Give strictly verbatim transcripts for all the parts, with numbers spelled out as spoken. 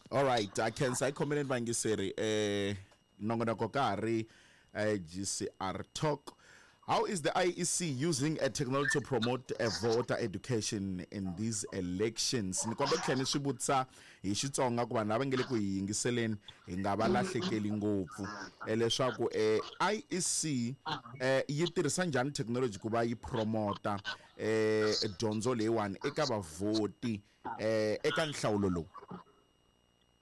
All right, a khensa hi khomeleni vayingiseri eh nongonoko ka ha ri eh, G C R Talk. How is the I E C using a technology to promote a voter education in these elections? Ni kombela ku tlhela ni swi vutisa hi Xitsonga ku vanhu lava nge le ku hi yingiseleni hi nga va lahlekeli ngopfu. Eh, leswaku eh, I E C eh, yi tirhisa njhani technology ku va yi promota eh, dyondzo leyiwani eka vavhoti eh, eka nhlawulo lowu?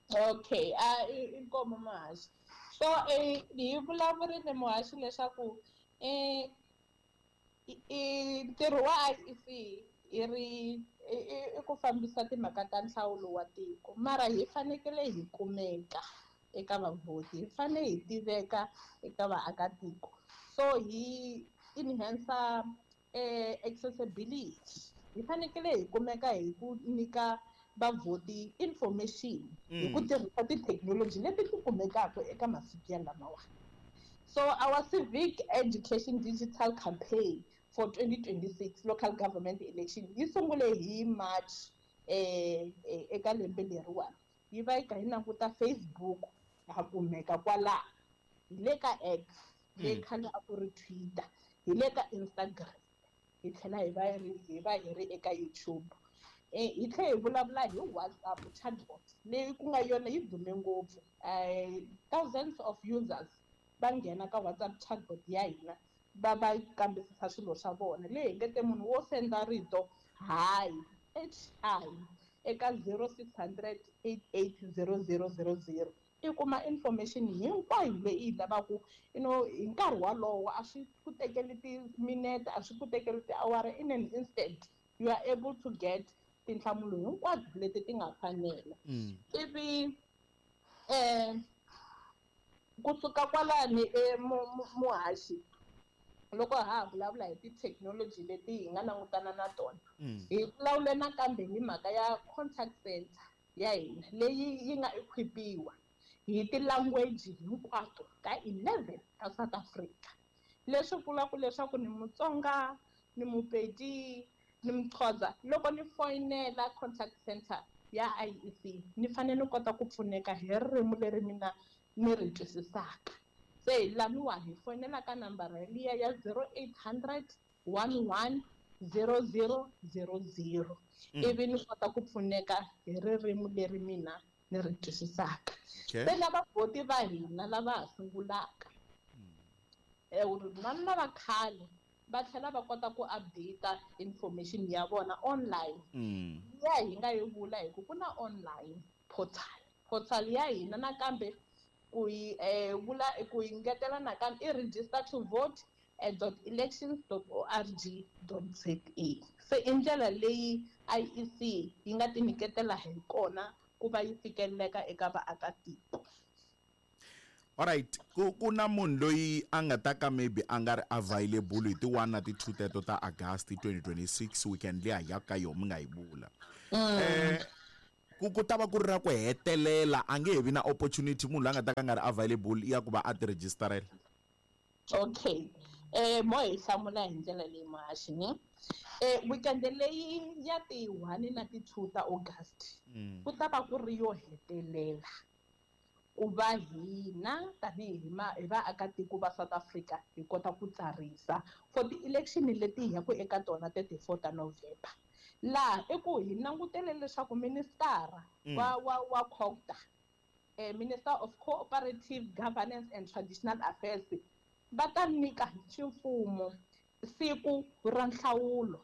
Okay, a inkomo muhaxi. So eh hi vulavurile muhaxi leswaku eh i ntirho wa I E C i ri i ku fambisa timhaka ta nhlawulo wa tiko, mara hi fanekele hi kumeka eka vavhoti, hi fanele hi tiveka eka vaakatiko. So hi enhance eh accessibility, hi fanekele hi kumeka hi ku nyika vavhoti information hi ku tirhisa tithekinoloji leti ti kumekaka eka masiku ya lamawani. So our civic education digital campaign for twenty twenty-six local government election yi sungule hi March eh eka lembe leriwani. Yi va yi kha yi languta Facebook, ha kumeka kwalaho, hi le ka X leyi khale a ku ri Twitter, hi le ka Instagram, hi tlhela hi va hi va hi ri eka YouTube. eh hi tlhela hi vulavula hi WhatsApp chatbot leyi ku nga yona yi dume ngopfu. eh thousands of users va nghena ka WhatsApp chatbot ya hina, va va kambisisa swilo swa vona, leyi hi nge te munhu wo senda rito "hi", H I, eka zero six hundred eight eight zero zero zero zero, i kuma information hinkwayo leyi yi lavaka you know hi nkarhi walowo. A swi ku tekeli timinete, a swi ku tekeli tiawara. In an instant you are able to get tinhlamulo hinkwato leti ti nga fanela. Ivi eh kusuka kwalani, muhaxi, loko ha ha vulavula hi tithekinoloji leti hi nga langutana na tona, hi vulavule nakambe hi mhaka ya contact center ya hina leyi yi nga equipiwa hi ti-language hinkwato ka eleven ta South Africa, leswi vulaka leswaku ni Mutsonga, ni Mupedi, ni Muxhosa, loko ni foyinela contact center ya I E C ni fanele ni kota ku pfuneka hi ririmi leri mina ni ri twisisaka. Se laniwa hi foyinela ka nambara liya ya zero eight hundred one one zero zero zero zero, ivi ni kota ku pfuneka hi ririmi leri mina ni ri twisisaka. Okay. Se lava vhoti va hina lava ha sungulaka na lava khale va tlhela va kota ku update information ya vona online. Mm. Ya hi nga yi vula hi ku ku na online portal portal ya hina nakambe ku yi eh, vula ku yi ngetela nakambe i register to vote eh, dot elections dot org dot za. Se i ndlela leyi I E C yi nga ti nyiketela hi kona ku va yi fikeleleka eka vaakatiko. Alright, ku ku na munhu loyi a nga ta ka maybe a nga ri available hi ti one na ti two teto ta August twenty twenty-six, weekend liya hi ya ka yona mi nga yi vula. Eh ku ku ta va ku ri ra ku hetelela, a nge he vi na opportunity munhu loyi a nga ta ka a nga ri available ya ku va a ti registerela? Okay, eh mo hi hlamula hi ndlela leyi muhaxi ni eh weekend leyi ya ti one na ti two ta August ku ta va ku ri yo hetelela ku va hina tanihi hi ma hi vaakatiko va South Africa hi kota ku tsarisa for ti-election leti hi yaku eka tona thirty-four ta November. Laha i ku hi langutele leswaku ministara wa wa wa COGTA, eh, Minister of Cooperative Governance and Traditional Affairs, va ta nyika hi ximfumo siku ra nhlawulo.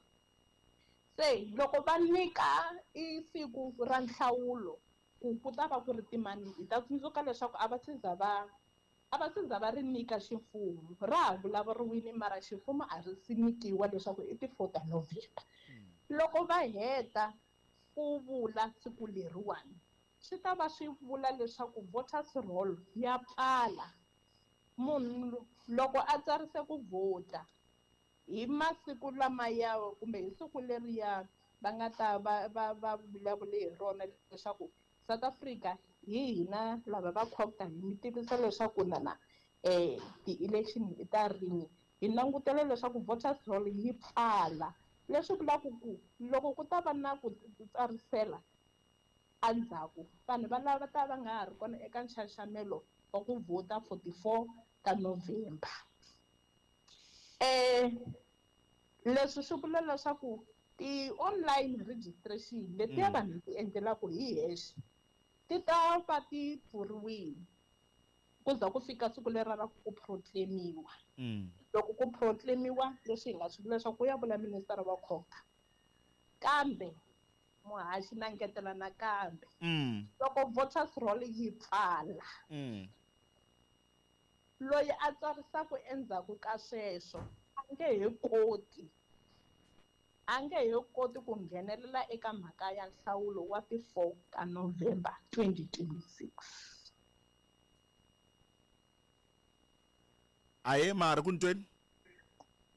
Se loko va nyika i siku ra nhlawulo ku ku ta va ku ri timani, hi ta tsundzuka leswaku a va se za va a va se za va ri nyika ximfumo. Ra ha vulavuriwile, mara ximfumo a ri si nyikiwa leswaku i ti-four ta November. Loko va heta ku vula siku leriwani, swi ta va swi vula leswaku voters roll ya pfala. Munhu loko a tsarise ku vhota hi masiku lamaya kumbe hi siku leriya va nga ta va va va vulavule hi rona leswaku South Africa, hi hina lava va COGTA hi mi tivisa leswaku nana eh ti-election i ta rini, hi langutele leswaku voters roll yi pfala, leswi vulaka ku loko ku ta va na ku tsarisela endzhaku vanhu va lava ta va nga ha ri kona eka nxaxamelo wa ku vhota forty-four ta November. Eh leswi swi vula leswaku ti-online registration letiya vanhu ti endlelaka hi hexe ti ta va ti pfuriwile ku za ku fika siku leri ra ku proclaimiwa. Loko ku proclaimiwa leswi hi nga swi vula leswaku ku ya vula minister wa Khota, kambe muhaxi na ngetela nakambe loko voters roll yi pfala loyi a tsarisaka endzhaku ka sweswo a nge he koti a nge he koti ku nghenelela eka mhaka ya nhlawulo wa ti-four ka November twenty twenty-six. Aye mara ku ntweni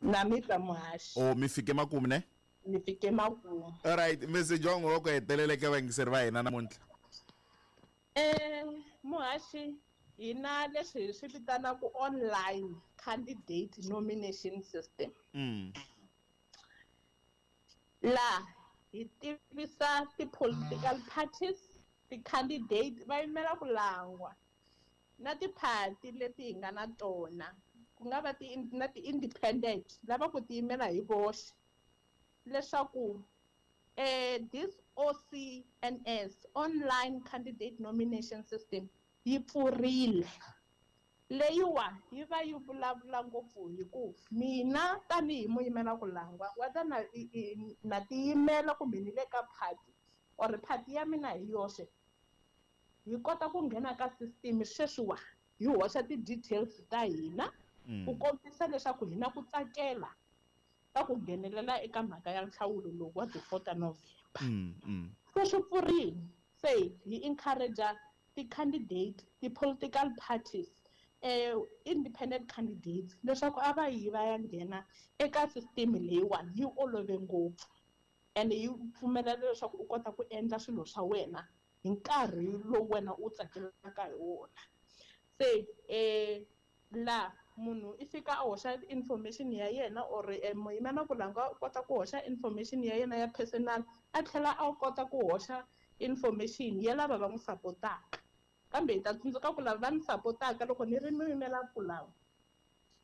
na mi twa muhaxi. Oh mi fike makumu ne? Mi fike makumu. All right, message wa n'wina wa ku hetelela eka vayingiseri va hina namuntlha. Eh muhaxi, hina leswi hi swi vitanaka online candidate nomination system. Mm. La hi tivisa ti-political parties, ti-candidate va yimela ku langwa na tiphati leti hi nga na tona, ku nga va ti na ti-independent lava ku tiyimela hi voxe, leswaku eh this O C N S online candidate nomination system yi pfurile. Leyiwa yi va yi vulavula ngopfu hi ku mina tanihi muyimela ku langwa wa ta na na tiyimela kumbe ni le ka party or party ya mina hi yoxe, hi kota ku nghena ka system sweswiwa hi hoxa ti-details ta hina ku kombisa leswaku hina ku tsakela ka ku nghenelela eka mhaka ya nhlawulo lowu wa ti-four ta November. Se swi pfurile, se hi encourage ti-candidate, ti-political parties, eh independent candidates leswaku a va yi va ya nghena eka system leyiwani yi olove ngopfu and yi pfumelela leswaku u kota ku endla swilo swa wena hi nkarhi lowu wena u tsakelaka hi wona. Se eh la munhu i fika a hoxa information ya yena or muyimela ku langa u kota ku hoxa information ya yena ya personal, a tlhela a kota ku hoxa information ya lava va n'wi sapotaka. Kambe hi ta tsundzuka ku lava va ni sapotaka loko ni ri muyimela ku lava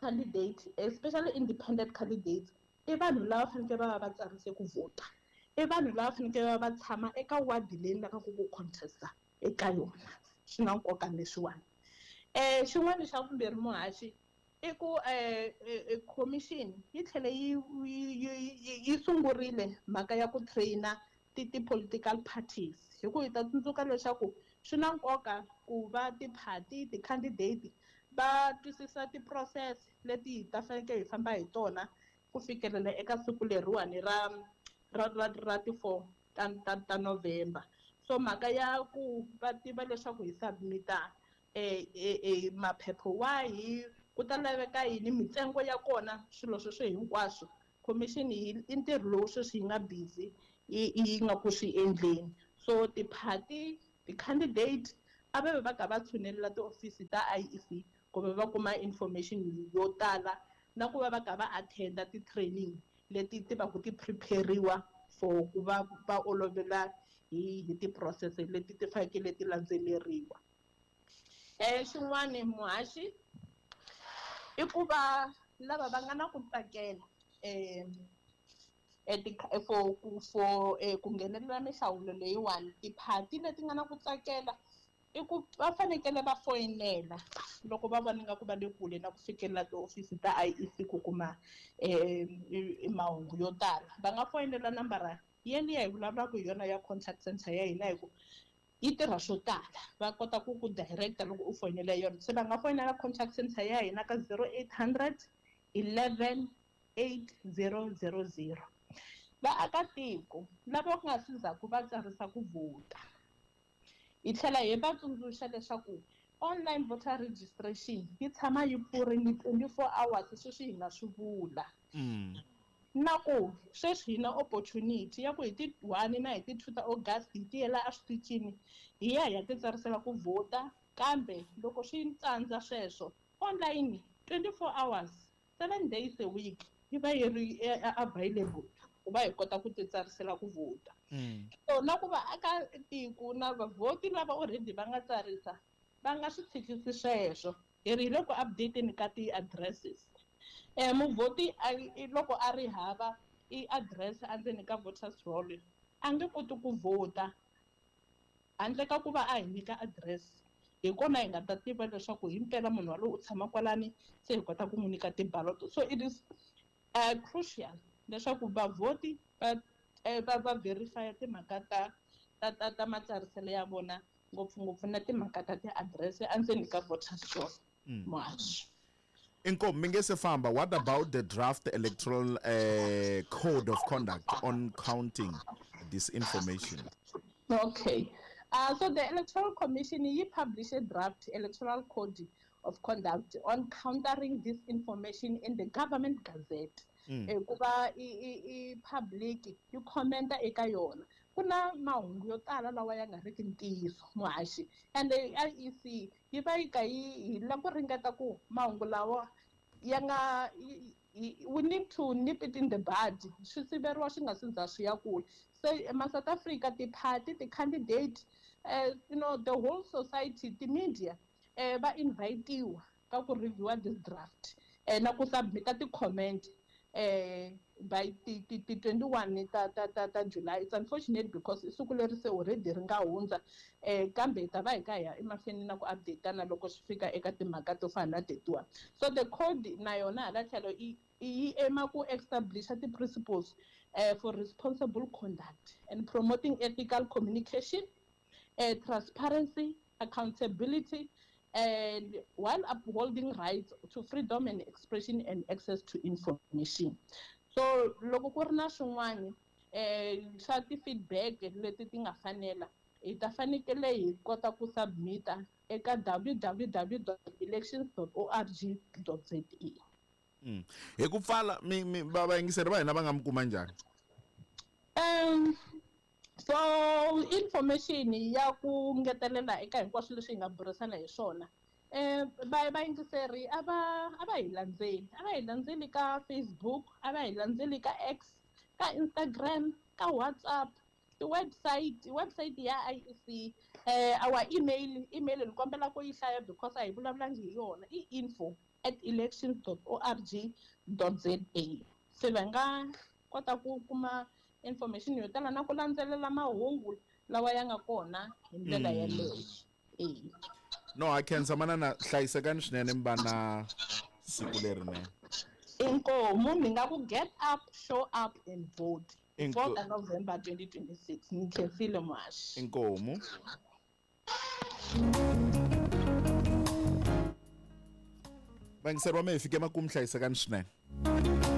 candidate, especially independent candidates, i vanhu lava fanekele va va va tsarise ku vhota, i vanhu lava fanekele va va tshama eka wadi leyi ni lavaka ku contesta eka yona. Swi na nkoka leswiwani. Eh xin'wana xa vumbirhi muhaxi i ku eh commission yi tlhele yi yi sungurile mhaka ya ku traina ti-political parties, hi ku hi ta tsundzuka leswaku swi na nkoka ku va tiphati ti-candidate va twisisa ti-process leti hi ta fanekele hi famba hi tona ku fikelela eka siku leriwani ra ra ra ra ti-four ta ta ta November. So mhaka ya ku va tiva leswaku hi submita eh eh maphepha wahi, ku ta laveka yini, mintsengo ya kona, swilo sweswo hinkwaswo commission yi i ntirho lowu sweswi yi nga busy yi yi nga ku swi endleni. So tiphati ti-candidate a va ve va ka va tshunelela tiofisi ta I E C ku va va kuma information yo tala na ku va va ka va attenda ti-training leti ti va ku ti prepariwa for ku va va olovela hi hi ti-process leti ti fanekele ti landzeleriwa. Eh xin'wani muhaxi i ku va lava va nga na ku tsakela eh for ku for ku nghenelela mihlawulo leyiwani, tiphati leti nga na ku tsakela i ku va fanekele va foyinela loko va vona nga ku va le kule na ku fikelela tihofisi ta I E C ku kuma eh mahungu yo tala. Va nga foyinela nambara yeliya hi vulavulaka hi yona ya contact center ya hina hi ku yi tirha swo tala, va kota ku ku directa loko u foyinela yona. Se va nga foyinela contact center ya hina ka zero eight hundred eleven eight zero zero zero. Vaakatiko lava ku nga si zaku va tsarisa ku vhota, hi tlhela hi va tsundzuxa leswaku online voter registration yi tshama yi pfurile twenty-four hours, sweswi hi nga swi vula. Na ku sweswi hi na opportunity ya ku hi ti one na hi ti two ta August hi tiyela eswitichini hi ya hi ya titsarisela ku vhota, kambe loko swi tsandza sweswo online twenty-four hours seven days a week yi va yi ri available ku va hi kota ku titsarisela ku vhota. So na ku va aka tiko na vavhoti lava already va nga tsarisa va nga swi tshikisi sweswo. Hi ri hi le ku update-eni ka ti-addresses. Eh muvhoti loko a ri hava i address endzeni ka voters roll a nge koti ku vhota handle ka ku va a hi nyika address. Hi kona hi nga ta tiva leswaku himpela munhu walowo u tshama kwalani, se hi kota ku n'wi nyika ti-ballot. So it is uh, crucial leswaku vavhoti va va va verify timhaka ta ta ta ta matsariselo ya vona, ngopfungopfu na timhaka ta ti-address endzeni ka voters roll. Muhaxi. Inkomu, mi nge se famba, what about the draft electoral uh, code of conduct on counting disinformation? Okay. Uh, so the Electoral Commission yi published a draft electoral code of conduct on countering disinformation in the government gazette. Ku va i public yi commenta eka yona. Ku na mahungu yo tala lawa ya nga riki ntiyiso muhaxi, and the I E C yi va yi ka yi hi la ku ringeta ku mahungu lawa ya nga, we need to nip it in the bud, swi siveriwa swi nga si za swi ya kule. So ma South Africa, ti-party, ti-candidate, uh, you know, the whole society, ti-media, eh, va invitiwa ka ku reviewa this draft eh, na ku submita ti-comment eh, by ti ti ti twenty-one ta ta ta ta July. It's unfortunate because siku leri se already ri nga hundza, eh, kambe hi ta va hi ka hi ya emahlweni na ku update-ana loko swi fika eka timhaka to fana na tetiwa. So the code na yona hala tlhelo yi yi ema ku establisha ti-principles uh, for responsible conduct and promoting ethical communication, uh, transparency, accountability, and while upholding rights to freedom and expression and access to information. So loko ku ri na swin'wana eh swa ti-feedback leti ti nga fanela, hi ta fanekele hi kota ku submita eka w w w dot elections dot org dot z a. Mm. Hi ku pfala mi mi va vayingiseri va hina va nga mi kuma njhani? Um so information ya ku ngetelela eka hinkwaswo leswi hi nga burisana hi swona, eh va vayingiseri a va a va hi landzeli, a va hi landzeli ka Facebook, a va hi landzeli ka X, ka Instagram, ka WhatsApp, ti-website, website ya I E C, eh our email, email ni kombela ku yi hlaya because a hi vulavulangi hi yona, i info at elections dot org dot z a. Se va nga kota ku kuma information yo tala na ku landzelela mahungu lawa ya nga kona hi ndlela yeleyo. Eh. No, a khensa manana, hlayisekani swinene mi va na siku lerinene. Inkomu, ni nga ku get up, show up and vote. fourth of November twenty twenty-six. Ni khensile muhaxi. Inkomu. Vayingiseri va mehe hi fike makumu, hlayisekani swinene.